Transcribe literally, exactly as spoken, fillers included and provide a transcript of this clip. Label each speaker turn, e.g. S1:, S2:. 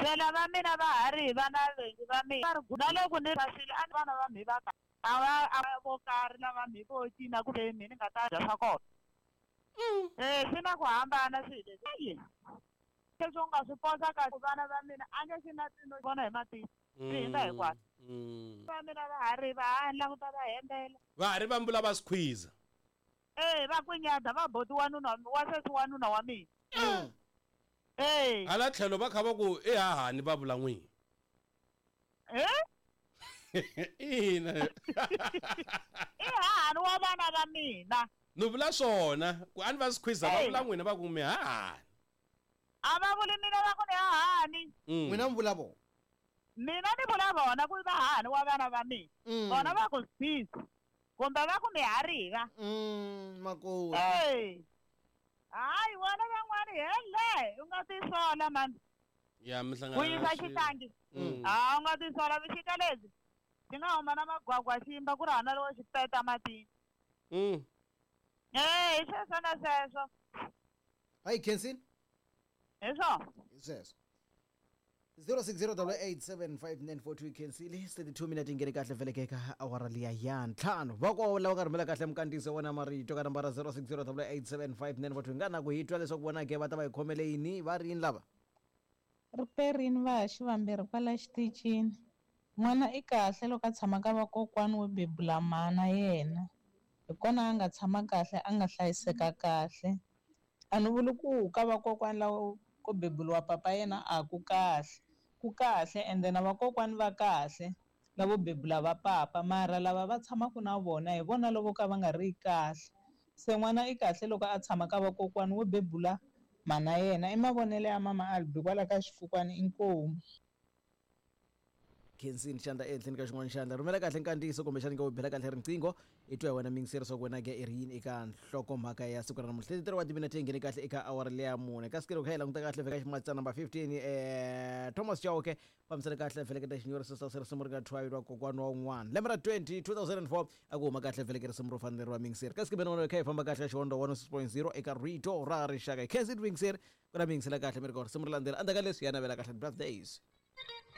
S1: Se lava mina va ha ri hi vana va mina na loko ni rasile a ni vana va mhi va ka a va a vo karhi lava mhi vo cina kumbe mhi ni nga ta dya swa kona. Eh swi na ku hambana swilo leswi. Leswi u nga swi posa ka vana va mina a nge swi na tino vona hi matihlo. Swi hindza hinkwaswo. Va mina va ha ri va ha languta va hembela.
S2: Va ha ri va mbula va squeeze.
S1: Eh va kwinyada va boti wanuna wa sesi wanuna wa mina. Eh.
S2: Hala tlhelo va kha va ku i hahani va vula n'wini.
S1: Eh?
S2: Ina.
S1: I hahani wa vana va mina.
S2: Ni vula swona ku a ni va squeeze va vula n'wina va ku mi hahani.
S1: A va vuli mina va ku ni hahani.
S3: N'wina mi vula vona.
S1: Mina ni vula vona ku va hahani wa vana va mina. Vona va ku squeeze. Kumbe va ku mi hariva.
S3: Mm, makoti.
S1: Eh. Hayi wona van'wani hele u nga tisola mani.
S2: Ya mi hlangana.
S1: Ku yisa xihlangi. Ah u nga tisola vuxika lebyi. Xi nga huma na magwagwa ximba ku ri hana lowo xi peta matini.
S2: Mm.
S1: Eh, hi sweswo na sweswo.
S3: Hayi Kensini.
S1: Hi swona.
S3: Hi sweswo. zero six zero eight seven five nine four two Kensile thirty-two minute ingene kahle vele ka awara liya ya ntlhanu va ko lava ka rhumela kahle mkandziso wona marito ka nambara zero six zero eight seven five nine four two nga na ku hi twa leswaku vona ke va ta va hi khomele yini va ri yini lava
S4: riperini va ha xivambirhi kwala xitichini n'wana i kahle loko a tshama ka vakokwani wo bebula mana yena hi kona a nga tshama kahle a nga hlayiseka kahle a ni vuli ku ka vakokwani lava ko bebuliwa papa yena a ku kahle ku kahle ende na vakokwani va kahle lavo bebula va papa mara lava va tshamaka na vona hi vona lavo ka va nga ri kahle se n'wana i kahle loko a tshama ka vakokwani wo bebula mana yena i mavonelo ya mama Albi kwala ka xifukwani inkomu.
S3: Kensini xandla ehenhleni ka xin'wana xandla rhumela kahle nkandziyiso kumbexani ka u bela kahle riqingho i twa hi wena mingiseri swa ku wena ke i ri yini eka nhlokomhaka ya siku ra namuntlha thirty-three wa timinete yi nghene kahle eka awara leya mune kasi ke loko kha hi languta kahle vheka ximatsana number fifteen eh Thomas Chauke fambisana kahle veleketa xinyori sesa se risimu ri nga thwayi lwa kokwana wa un'wana lembe ra twenty two thousand four a ku huma kahle veleke risimu ro fanele ra mingiseri kasi ke bena wena kha hi famba kahle ka xihondo one oh six point zero eka rito ra rixaka Kensini mingiseri ku na mingisela kahle mi ri ka risimu ri landzela endzhaku ka leswi ya navela kahle birthdays.